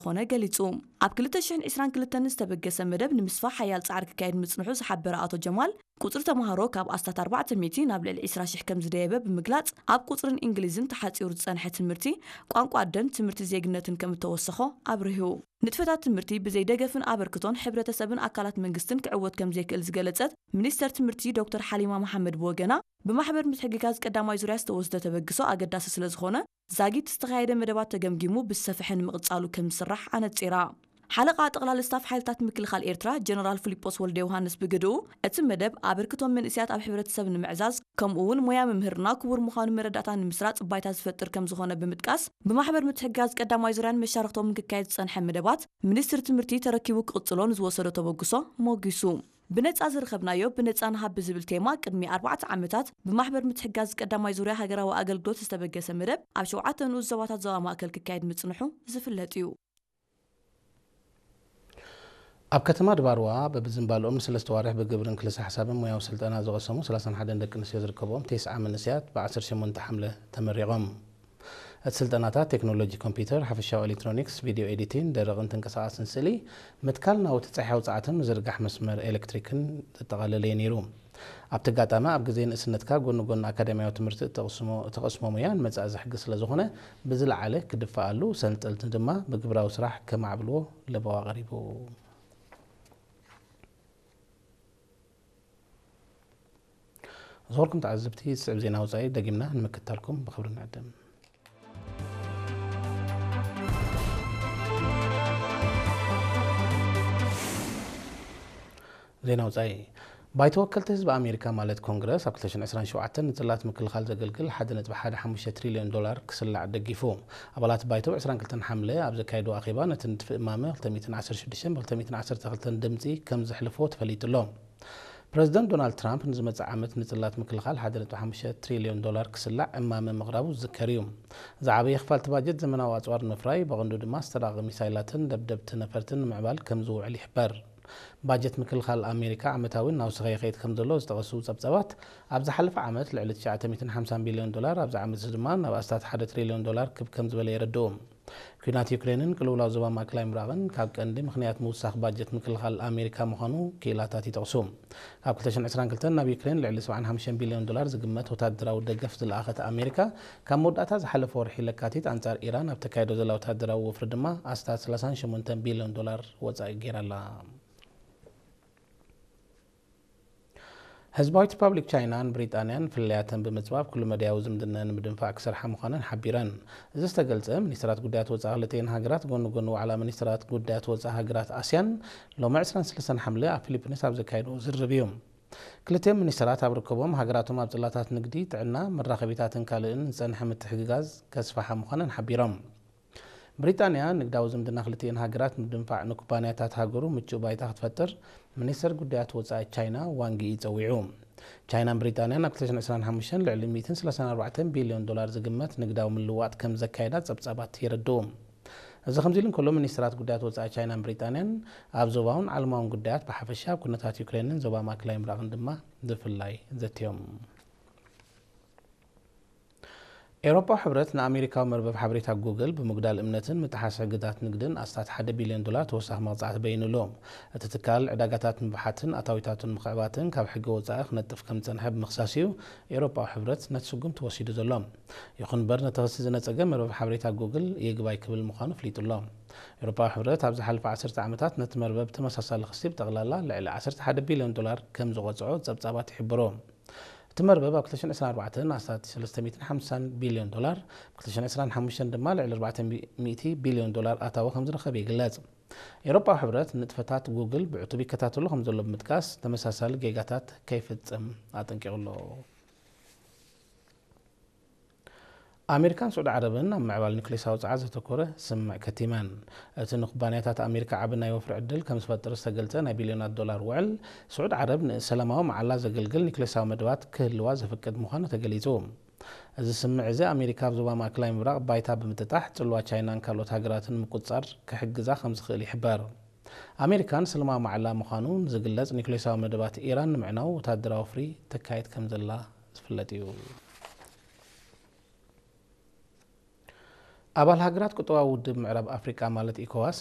ዝኾነ ገሊጹ። ኣብ ክልተ ሽሕን ዕስራን ክልተን ዝተበገሰ መደብ ንምስፋሕ ሓያል ጻዕሪ ክካየድ ምጽንሑ ዝሓበረ ኣቶ ጀማል፣ ቁጽሪ ተማሃሮ ካብ ኣስታት ኣርባዕተ ሚእቲ ናብ ልዕሊ ዕስራ ሽሕ ከም ዝደየበ ብምግላጽ፣ ኣብ ቁጽርን እንግሊዝን ተሓጺሩ ዝጸንሐ ትምህርቲ ቋንቋ ኣደን ትምህርቲ ዜግነትን ከም እተወሰኾ ኣብሪሁ። ንጥፈታት ትምህርቲ ብዘይ ደገፍን ኣበርክቶን ሕብረተሰብን ኣካላት መንግስትን ክዕወት ከም ዘይክእል ዝገለጸት ሚኒስተር ትምህርቲ ዶክተር ሓሊማ መሓመድ ብወገና፣ ብማሕበር ምትሕግጋዝ ቀዳማይ ዙርያ ዝተወስደ ተበግሶ ኣገዳሲ ስለ ዝኾነ፣ ዛጊት ዝተኻየደ መደባት ተገምጊሙ ብዝሰፍሐ ንምቕጻሉ ከም ዝስራሕ ኣነጺራ። ሓለቓ ጠቕላሊ ስታፍ ሓይልታት ምክልኻል ኤርትራ ጀነራል ፊሊጶስ ወልደ ዮሃንስ ብግድኡ፣ እቲ መደብ ኣበርክቶ መንእሰያት ኣብ ሕብረተሰብ ንምዕዛዝ፣ ከምኡ እውን ሞያ ምምህርና ክቡር ምዃኑ መረዳእታ ንምስራጽ ባይታ ዝፈጥር ከም ዝኾነ ብምጥቃስ፣ ብማሕበር ምትሕግጋዝ ቀዳማይ ዙርያን መሻርኽቶምን ክካየድ ዝጸንሐ መደባት፣ ሚኒስትሪ ትምህርቲ ተረኪቡ ክቕጽሎ ንዝወሰዶ ተበግሶ ሞጊሱ። ብነጻ ዝረኸብናዮ ብነጻ ንሃብ ብዝብል ቴማ ቅድሚ ኣርባዕተ ዓመታት ብማሕበር ምትሕጋዝ ቀዳማይ ዙርያ ሃገራዊ ኣገልግሎት ዝተበገሰ መደብ ኣብ ሸውዓተ ንኡስ ዞባታት ዞባ ማእከል ክካየድ ምጽንሑ ዝፍለጥ እዩ። ኣብ ከተማ ድባርዋ በብዝንባልኦም ንሰለስተ ዋርሕ ብግብርን ክልሰ ሓሳብን ሞያዊ ስልጠና ዝቐሰሙ ሰላሳን ሓደን ደቂ ኣንስትዮ ዝርከብኦም ተስዓ መንእሰያት ብ18 ሓምለ ተመሪቖም። እቲ ስልጠናታት ቴክኖሎጂ ኮምፒውተር፣ ሓፈሻዊ ኤሌክትሮኒክስ፣ ቪድዮ ኤዲቲን፣ ደረቕን ተንቀሳቓስን ስእሊ፣ ምትካል ናውቲ ጸሓያዊ ጸዓትን ምዝርጋሕ መስመር ኤሌክትሪክን ዘጠቓለለ እዩ ነይሩ። ኣብቲ ኣጋጣሚ ኣብ ግዜ ንእስነትካ ጎኒ ጎኒ ኣካዳሚያዊ ትምህርቲ እተቕስሞ፣ እተቐስሞ ሞያ ንመጻኢ ዘሕግዝ ስለ ዝኾነ ብዝለዓለ ክድፋኣሉ፣ ሰልጠንቲ ድማ ብግብራዊ ስራሕ ከማዕብልዎ ለበዋ ቀሪቡ። ዝኸበርኩም ተዓዘብቲ፣ ዝስዕብ ዜና ወጻኢ ደጊምና ንምክታልኩም ብኽብሪ ንዕድም። ዜና ወጻኢ። ባይቶ ወከልቲ ህዝቢ ኣሜሪካ ማለት ኮንግረስ ኣብ ክልተ ሽሕን ዕስራን ሸውዓተን ንጽላት ምክልኻል ዘገልግል ሓደ ነጥቢ ሓደ ሓሙሽተ ትሪልዮን ዶላር ክስላዕ ደጊፉ። ኣባላት ባይቶ ብ ዕስራን ክልተን ሓምለ ኣብ ዘካየድዎ ኣኼባ ነቲ ንድፊ እማመ ክልተ ሚእትን ዓሰርተ ሽዱሽተን ብ ክልተ ሚእትን ዓሰርተ ክልተን ድምጺ ከም ዘሕልፍዎ ተፈሊጡ ኣሎ። ፕረዚደንት ዶናልድ ትራምፕ ንዝመጽእ ዓመት ንጽላት ምክልኻል ሓደ ነጥቢ ሓሙሽተ ትሪልዮን ዶላር ክስላዕ እማመ ምቕራቡ ዝዝከር እዩ። ዝዓበየ ክፋል እቲ ባጀት ዘመናዊ ኣጽዋር ንምፍራይ፣ ብቐንዱ ድማ ዝተራቐቐ ሚሳይላትን ደብደብቲ ነፈርትን ንምዕባል ከም ዝውዕል ይሕበር። ባጀት ምክልኻል ኣሜሪካ ዓመታዊ እናወሰኸ ይኸይድ ከም ዘሎ ዝጠቐሱ ጸብጻባት፣ ኣብ ዝሓለፈ ዓመት ልዕሊ ትሽዓተ ሚእትን ሓምሳን ቢልዮን ዶላር፣ ኣብዚ ዓመት እዚ ድማ ናብ ኣስታት ሓደ ትሪልዮን ዶላር ክብ ከም ዝበለ የረድኡ። ኲናት ዩክሬንን ቅልውላው ዞባ ማእከላይ ምብራቕን ካብ ቀንዲ ምኽንያት ምውሳኽ ባጀት ምክልኻል ኣሜሪካ ምዃኑ ክኢላታት ይጠቕሱ። ካብ ክልተ ሽሕን ዕስራን ክልተን ናብ ዩክሬን ልዕሊ ሰብዓን ሓሙሽተን ቢልዮን ዶላር ዝግመት ወታደራዊ ደገፍ ዝለኣኸት ኣሜሪካ፣ ካብ መወዳእታ ዝሓለፈ ወርሒ ለካቲት ኣንጻር ኢራን ኣብ ተካይዶ ዘላ ወታደራዊ ወፍሪ ድማ ኣስታት ሰላሳን ሸሞንተን ቢልዮን ዶላር ወጻኢ ገይራ ኣላ። ህዝባዊት ሪፓብሊክ ቻይናን ብሪጣንያን ፍልልያተን ብምጽባብ ኩሉ መዳያዊ ዝምድና ንምድንፋዕ ክሰርሓ ምዃነን ሓቢረን። እዚ ዝተገልጸ፣ ሚኒስትራት ጉዳያት ወጻኢ ክልቲኤን ሃገራት ጎኒ ጎኒ ዋዕላ ሚኒስትራት ጉዳያት ወጻኢ ሃገራት ኣስያን ሎሚ ዕስራን ሰለስተን ሓምለ ኣብ ፊሊፒንስ ኣብ ዘካየድዎ ዝርርብ እዩ። ክልቲኦም ሚኒስትራት ኣብ ርክቦም ሃገራቶም ኣብ ጽላታት ንግዲ፣ ጥዕና፣ መራኸቢታትን ካልእን ዝጸንሐ ምትሕግጋዝ ከስፍሓ ምዃነን ሓቢሮም። ብሪጣንያ ንግዳዊ ዝምድና ክልቲኤን ሃገራት ንምድንፋዕ ንኩባንያታት ሃገሩ ምቹእ ባይታ ክትፈጥር ሚኒስተር ጉዳያት ወጻኢ ቻይና ዋንግ ዪ ጸዊዑ። ቻይናን ብሪጣንያን ኣብ ክልተ ሽሕን ዕስራን ሓሙሽተን ልዕሊ ሚእትን ሰላሳን ኣርባዕተን ቢልዮን ዶላር ዝግመት ንግዳዊ ምልውዋጥ ከም ዘካየዳ ጸብጻባት የረድኡ። እዚ ከምዚ ኢሉ እንከሎ፣ ሚኒስተራት ጉዳያት ወጻኢ ቻይናን ብሪጣንያን ኣብ ዞባውን ዓለማውን ጉዳያት ብሓፈሻ፣ ኣብ ኩነታት ዩክሬንን ዞባ ማእከላይ ምብራቕን ድማ ብፍላይ ዘትዮም። ኤውሮጳዊ ሕብረት ንኣሜሪካዊ መርበብ ሓበሬታ ጉግል ብምጉዳል እምነትን ምጥሓስ ሕግታት ንግድን ኣስታት ሓደ ቢልዮን ዶላር ተወሳኺ መቕጻዕቲ በይኑ ኣሎ። እቲ ትካል ዕዳጋታት ንምብሓትን ኣታዊታቱ ንምኽዕባትን ካብ ሕጊ ወጻኢ ክነጥፍ ከም ዝጸንሐ ብምኽሳስ እዩ ኤውሮጳዊ ሕብረት ነቲ ስጉምቲ ወሲዱ ዘሎ። ይኹን እምበር፣ ነቲ ክሲ ዝነጸገ መርበብ ሓበሬታ ጉግል ይግባይ ክብል ምዃኑ ኣፍሊጡ ኣሎ። ኤውሮጳዊ ሕብረት ኣብ ዝሓለፈ ዓሰርተ ዓመታት ነቲ መርበብ ተመሳሳሊ ክሲ ብጠቕላላ ልዕሊ ዓሰርተ ሓደ ቢልዮን ዶላር ከም ዝቐጽዖ ጸብጻባት ይሕብሩ። እቲ መርበብ ኣብ ክልተ ሽሕን ዕስራን ኣርባዕተን ኣስታት ሰለስተ ሚእትን ሓምሳን ቢልዮን ዶላር፣ ኣብ ክልተ ሽሕን ዕስራን ሓሙሽተን ድማ ልዕሊ ኣርባዕተ ሚእቲ ቢልዮን ዶላር ኣታዊ ከም ዝረኸበ ይግለጽ። ኤውሮጳዊ ሕብረት ንጥፈታት ጉግል ብዕቱብ ይከታተሎ ከም ዘሎ ብምጥቃስ፣ ተመሳሳሊ ጌጋታት ከይፍጽም ኣጠንቂቑ ኣሎ። ኣሜሪካን ስዑዲ ዓረብን ኣብ ምዕባል ኒውክሌሳዊ ጸዓት ዘተኮረ ስምምዕ ከቲመን። እቲ ንኩባንያታት ኣሜሪካ ዓቢ ናይ ወፍሪ ዕድል ከም ዝፈጥር ዝተገልጸ ናይ ቢልዮናት ዶላር ውዕል፣ ስዑዲ ዓረብ ንሰላማዊ መዓላ ዘገልግል ኒውክሌሳዊ መደባት ክህልዋ ዘፍቅድ ምዃኑ ተገሊጹ። እዚ ስምምዕ እዚ ኣሜሪካ ኣብ ዞባ ማእከላይ ምብራቕ ባይታ ብምጥጣሕ፣ ጽልዋ ቻይናን ካልኦት ሃገራትን ንምቁጽጻር ክሕግዛ ከም ዝኽእል ይሕበር። ኣሜሪካ ንሰላማዊ መዓላ ምዃኑ ንዝግለጽ ኒውክሌሳዊ መደባት ኢራን ንምዕናው ወታደራዊ ወፍሪ ተካይድ ከም ዘላ ዝፍለጥ እዩ። ኣባል ሃገራት ቁጠባዊ ውድብ ምዕራብ ኣፍሪቃ ማለት ኢኮዋስ